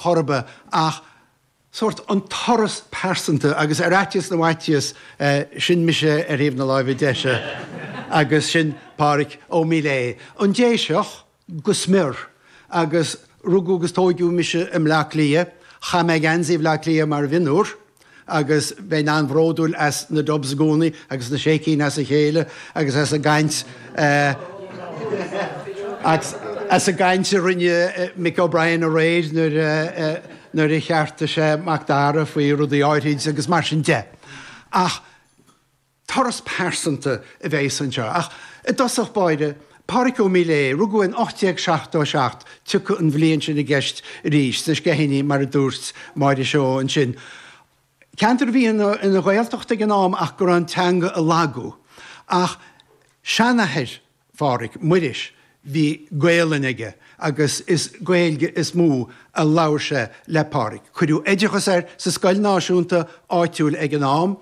Chor ar bith ach sórt an turas pearsanta agus ar fhaitíos na bhfaitíos, sin mise ar thaobh na láimhe deise agus sin Pádraic Ó Míléadh, an Déiseach go smior agus rugadh agus tóigeadh mise i mBleá Cliath, chaith mé geansaí Bhleá Cliath mar mhionúr. agus bheinn an-bhródúil as na Dubs i gcónaí agus na sé cinn as a chéile agus as an gcaint as an gcaint a rinne Mick O'Brien aréir nuair a nuair a cheartaigh sé Mac Dara faoi rudaí áithrid agus mar sin de. Ach Turas pearsanta a bheas anseo. Ach i dtosach báire, Pádraic Ó Míléadh, rugadh in 1877, tiocfaidh an bhliain sin i gceist arís, sna Sceithíní mar a dúirt Máire Seoighe ansin. Ceantar a bhí ina Ghaeltacht ag an am ach go raibh an teanga ag lagú. Ach seanathair Phádraic, Muiris, bhí Gaolainn aige agus is Gaeilge is mó a labhair sé le Pádraic. Cuireadh oideachas air sa scoil náisiúnta áitiúil ag an am,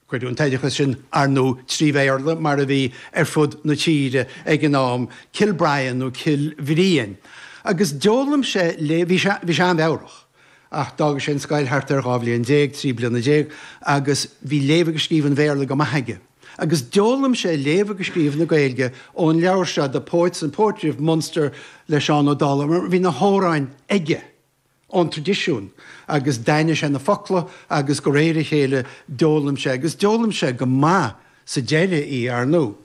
Cuireadh an t-oideachas sin, ar ndóigh, trí Bhéarla, mar a bhí ar fud na tíre ag an am, Cill Brian nó Cill Bhriain. Agus d'fhoghlaim sé léamh, bhí sé, bhí sé an-mheabhrach, ach d'fhága sé an scoil thart ar 12 bhliain, 13 bliana, agus bhí léamh agus scríobh an Bhéarla go maith aige. Agus d'fhoghlaim sé léamh agus scríobh na Gaeilge ón leabhar seo, The Poets and Poetry of Munster le Seán Ó Dálaigh, mar bhí na hamhráin aige. ón traidisiún agus d'aithnigh sé na focla agus de réir a chéile d'fhoghlaim sé, agus d'fhoghlaim sé go maith sa deireadh í, ar ndóigh.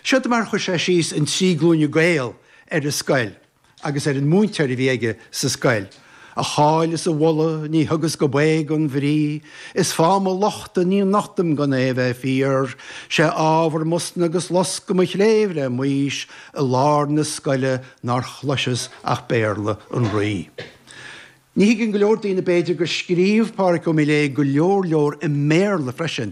Seod mar a chuir sé síos an Trí Glúine Gael ar an scoil agus ar an múinteoir a bhí aige sa scoil, A cháil is a mholadh ní thugas go baoth gan bhrí, Is fáth mo lochta ní nochtaim gan é bheith fíor, 'Sé ábhar m'osna agus loscadh mo chléibh le m'aois, I lár na scoile nár chloiseas ach Béarla an Rí. Ní thuigeann go leor daoine b'fhéidir gur scríobh Pádraic Ó Míléadh go leor leor i mBéarla freisin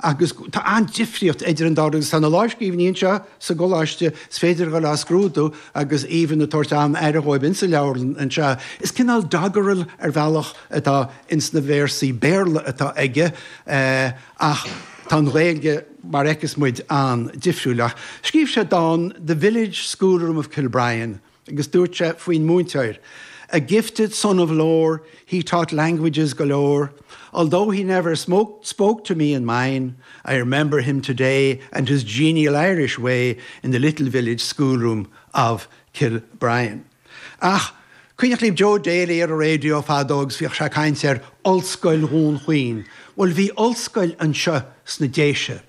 agus tá an-difríocht idir an dá rud agus tá na lámhscríbhinní anseo sa gcoláiste, is féidir a dhul á scrúdú agus Aoibhinn ag tabhairt an-aire dhóibh insa leabharlann anseo. Is cineál doggerel ar bhealach atá ins na véarsaí Béarla atá aige ach tá an Ghaeilge, mar a fheiceas muid, an-difriúil. Ach scríobh sé dán 'The Village Schoolroom of Kilbrien' agus dúirt sé faoin múinteoir, 'A gifted son of lore, he taught languages galore, although he never smoked, spoke to me and mine, I remember him today and his genial Irish way in the little village schoolroom of Kilbrien. Ach cuimhneach libh Joe Daly ar an raidió fadó agus bhíodh sé ag caint ar Ollscoil Dhún Chaoin. Bhuel bhí ollscoil anseo sna Déise.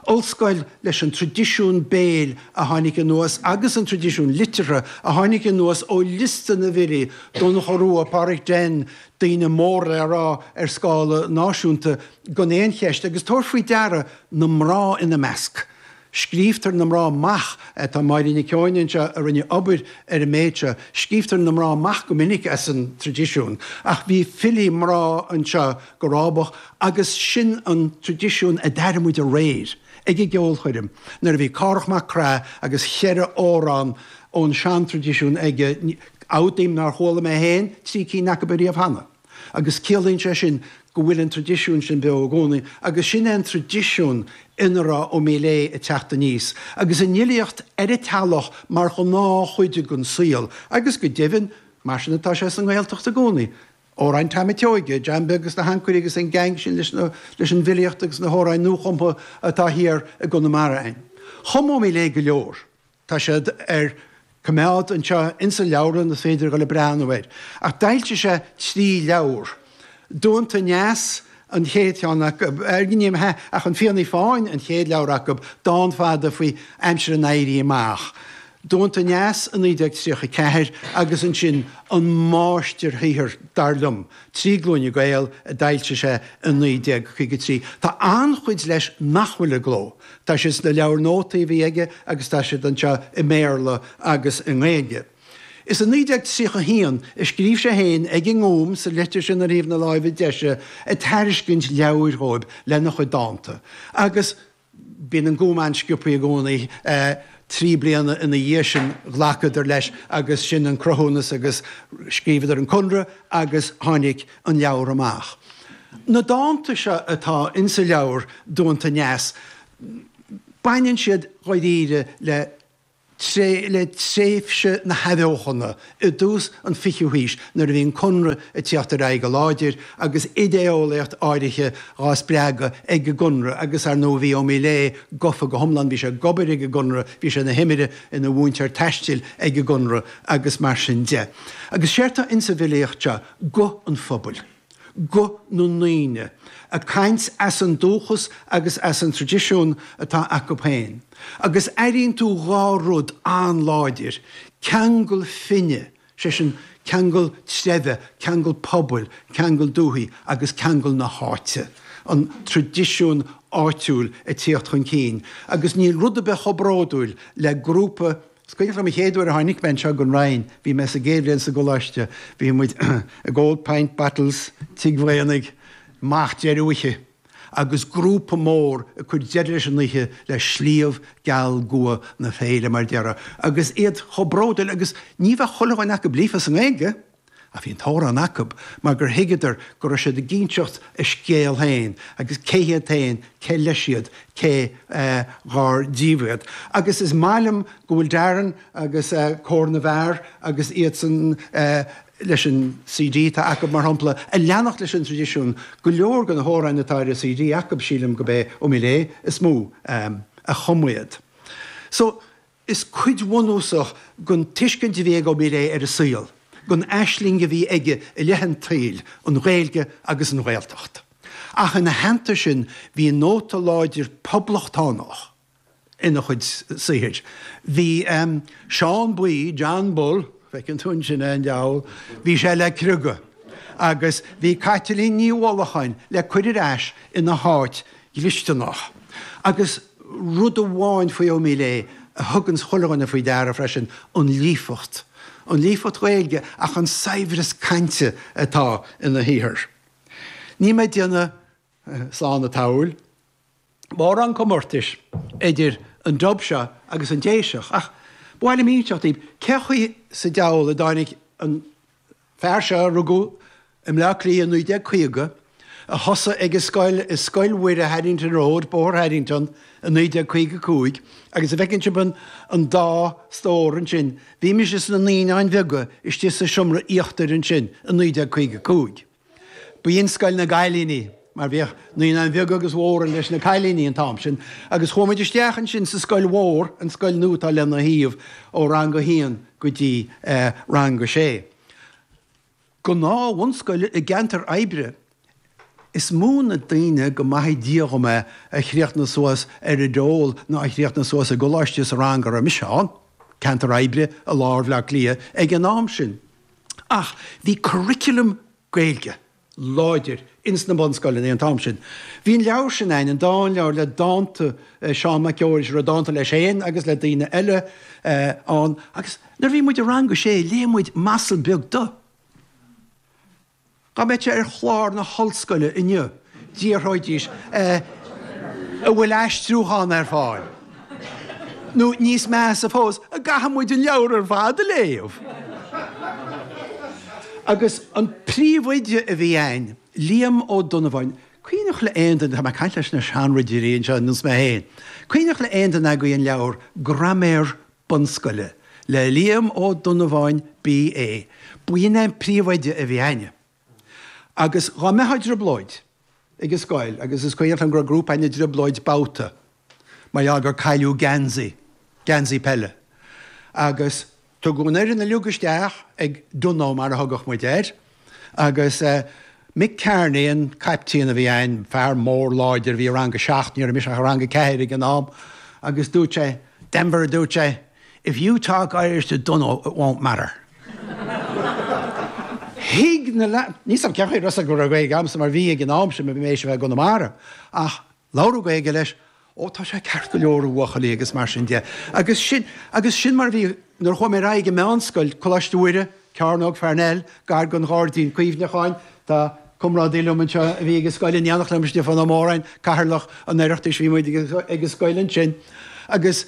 Ollscoil leis an traidisiún béil a tháinig anuas agus an traidisiún liteartha a tháinig anuas ó liosta na bhfilí, Donnchadh Rua, Pádraic Den, daoine mór le rá ar scála náisiúnta gan aon cheist agus tabhair faoi deara na mná ina measc. Scríobhtar na mná amach, tá Máire Nic Eoin anseo a rinne obair ar an méid seo, scríobhtar na mná amach go minic as an traidisiún, ach bhí filí mná anseo go rábach agus sin an traidisiún a d'airigh muid aréir ag an gceolchoirm nuair a bhí Cárthach Mac Craith agus cheithre amhrán ón seantraidisiún aige, admhaím nár chuala mé féin trí cinn acu ariamh cheana. Agus ciallaíonn sé sin go bhfuil an traidisiún sin beo i gcónaí agus sin é an traidisiún ina raibh Ó Míléadh ag teacht aníos agus an fhilíocht ar an teallach mar ghnáthchuid den saol agus go deimhin mar sin atá sé sa nGaeltacht i gcónaí. Amhráin Tom Seoige, John Beag agus na hAncairí agus an gang sin leis na leis an bhfilíocht agus na hamhráin nuachumtha atá thiar i gConamara againn. Chum Ó Míléadh go leor. Tá siad ar coimeád anseo insa leabharlann, is féidir a dhul ag breathnú air. Ach d'fhoilsigh sé trí leabhar. Duanta Aneas an chéad cheann acu, ní hea, ach An Fiannaí Fáin an chéad leabhar acu, dán fada faoi aimsir an Éirí Amach. Duanta Aneas i 1934 agus ansin an máistirshaothar, dar liom, Trí Glúine Gael a d'fhoilsigh sé i 1953. Tá an-chuid leis nach bhfuil i gcló. Tá siad sna leabhair nótaí a bhí aige agus tá siad anseo i mBéarla agus i nGaeilge. Is i 1931 a scríobh sé féin ag an nGúm, sa litir sin ar thaobh na láimhe deise, ag tairiscint leabhair dhóibh lena chuid dánta. Agus bíonn an Gúm an-sciobtha i gcónaí. Trí bliana ina dhiaidh sin ghlacadar leis agus sin an cruthúnas agus scríobhadar an conradh agus tháinig an leabhar amach. Na dánta seo atá insa leabhar Duanta Aneas, baineann siad dháiríre le. le tréimhse na hAthbheochana i dtús an fichiú haois nuair a bhí an Conradh ag tíocht ar aghaidh go láidir agus idé-eolaíocht áirithe dhá spreagadh ag an gConradh agus ar ndóigh bhí Ó Miléadha gofa go hiomlán, bhí sé ag obair ag an gConradh, bhí sé ina thimire, ina mhúinteoir taistil ag an gConradh agus mar sin de. Agus séard tá insa bhfilíocht seo, guth an phobail. guth na ndaoine, ag caint as an dúchas agus as an traidisiún atá acu féin. Agus airíonn tú dhá rud an-láidir, ceangal fine, sé sin, ceangal treibhe, ceangal pobail, ceangal dúthaí, agus ceangal na háite, an traidisiún áitiúil ag tíocht chun cinn. Agus níl rud ar bith chomh bródúil le grúpa Is cuimhneach liom an chéad uair a tháinig mé anseo gon Rinn, bhí mé sa gcéad bhliain sa gcoláiste, bhí muid ag ól pint bottles Tigh Mhaonaigh amach deireadh oíche agus grúpa mór ag cur deireadh leis an oíche le Sliabh Geal Gua na Féile mar déarfá agus iad chomh bródúil agus ní bheadh chuile dhuine acu líofa sa nGaeilge. Ach bhí an t-amhrán acu mar gur thuigeadar go raibh siad ag inseacht a scéal féin agus cé hiad féin, cé leis iad, cé dhár díobh iad. Agus is maith liom go bhfuil Darren agus Cór na bhFear agus iadsan leis an CD atá acu, mar shampla, ag leanacht leis an traidisiún. Go leor de na hamhráin atá ar an CD acu, sílim gurb é Ó Miléadha is mó a chum iad. So, Is cuid bhunúsach den tuiscint a bhí ag Ó Miléadha ar an saol, den aisling a bhí aige i leith an tsaoil, an Ghaeilge agus an Ghaeltacht. Ach ina theannta sin bhí nóta láidir poblachtánach ina chuid saothair. Bhí Seán Buí, John Bull, feiceann tú ansin é an diabhal, bhí sé le criogadh agus bhí Caitlín Ní Mhullacháin le cur ar ais ina háit dhlisteanach. Agus rud amháin faoi Ó Miléadha a thuganns chuile dhuine faoi deara freisin, an líofacht. An líofacht Ghaeilge ach an saibhreas cainte atá ina shaothar. Níl mé ag déanamh slán an tsamhail mórán comórtais idir an Dub seo agus an Déiseach ach ba mhaith liom inseacht daoibh cé chaoi sa diabhal a dtáinig an fear seo a rugadh i mBleá Cliath i 1950, a thosaigh ag an scoil i Scoil Mhuire Haddington Road, Bóthar Haddington, i 1955, agus a bhfeiceann sibh an dá stór ansin, bhí mise sna naíonáin bheaga istigh sa seomra íochtair ansin i 1955. B'in scoil na gcailíní, mar bhíodh naíonáin bheaga agus mhóra leis na cailíní an t-am sin, agus chuaigh muid isteach ansin sa scoil mhór, an scoil nua atá lena thaobh, ó rang a haon go dtí rang a sé. Gnáth-bhunscoil i gceantar oibre. Is mó na daoine, go maithe Dia dhom é, a chríochnaigh suas ar an dole ná a chríochnaigh suas i gcoláiste sa rang a raibh mise ann, ceantar oibre i lár Bhaile Átha Cliath ag an am sin. Ach bhí curriculum Gaeilge láidir ins na bunscoileanna an t-am sin. Bhí an leabhar sin a'inn, an dánleabhar le dánta Seán Mac Fheorais, a raibh dánta leis féin agus le daoine eile ann, agus nuair a bhí muid i rang a sé léigh muid M'Asal Beag Dubh. Dá mbeadh sé ar chlár na hollscoile inniu, d'fhiafróidís an bhfuil aistriúchán ar fáil? Nó níos measa fós, an gcaithfidh muid an leabhar ar fad a léamh? Agus an príomhoide a bhí a'inn, Liam Ó Donnabháin, cuimhneach le aon duine, tá mé ag caint leis na seanridirí anseo ar nós mé féin, cuimhneach le aon duine agaibh an leabhar Graiméar Bunscoile le Liam Ó Donnabháin B.A. B'in é an príomhoide a bhí a'inne. Agus dhá mbeifeá i dtrioblóid ag an scoil, agus is cuimhneach liom go raibh grúpa a'inn i dtrioblóid babhta mar gheall gur cailleadh geansaí, geansaí peile. Agus tugadh an fhoireann uilig isteach ag Dunno mar a thugadh muid air, agus Mick Kearney an caiptín a bhí a'inn, fear mór láidir a bhí i rang a seacht, ní raibh mise ach i rang a ceathair ag an am, agus dúirt sé, Denvir a dúirt sé, If you talk Irish to Dunno it won't matter. Thuig na leaids, níl 's a'm cén chaoi a raibh 's acu go raibh Gaeilge a'msa mar bhí ag an am sin, bhí mé théis a bheith i gConamara, ach labhradh Gaeilge leis, ó tá sé ceart go leor a bhuachaillí agus mar sin de. Agus sin, agus sin mar a bhí nuair a chuaigh mé ar aghaidh i meánscoil, Coláiste Mhuire, Cearnóg Pharnell, gar don Ghairdín Cuimhneacháin, tá comrádaí liom anseo a bhí ag an scoil in éineacht liom, Stiofán Ó Móráin, Cathaoirleach an Oireachtais, bhí muid ag an scoil ansin. Agus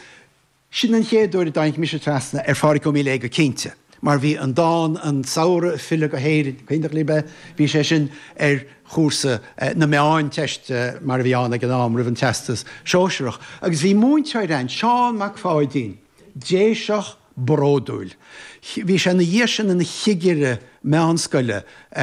Sin an chéad uair a dtáinig mise trasna ar Phádhraic Ó Miléadha go cinnte, mar bhí an dán 'An Samhradh ag Filleadh go hÉirinn', cuimhneach libh é? Bhí sé sin ar chúrsa na Meánteiste mar a bhí ann ag an am roimh an Teastas Sóisearach. Agus bhí múinteoir ann, Seán Mac Pháidín. Déiseach bródúil. Bhí sé ina dhiaidh sin ina chigire meánscoile.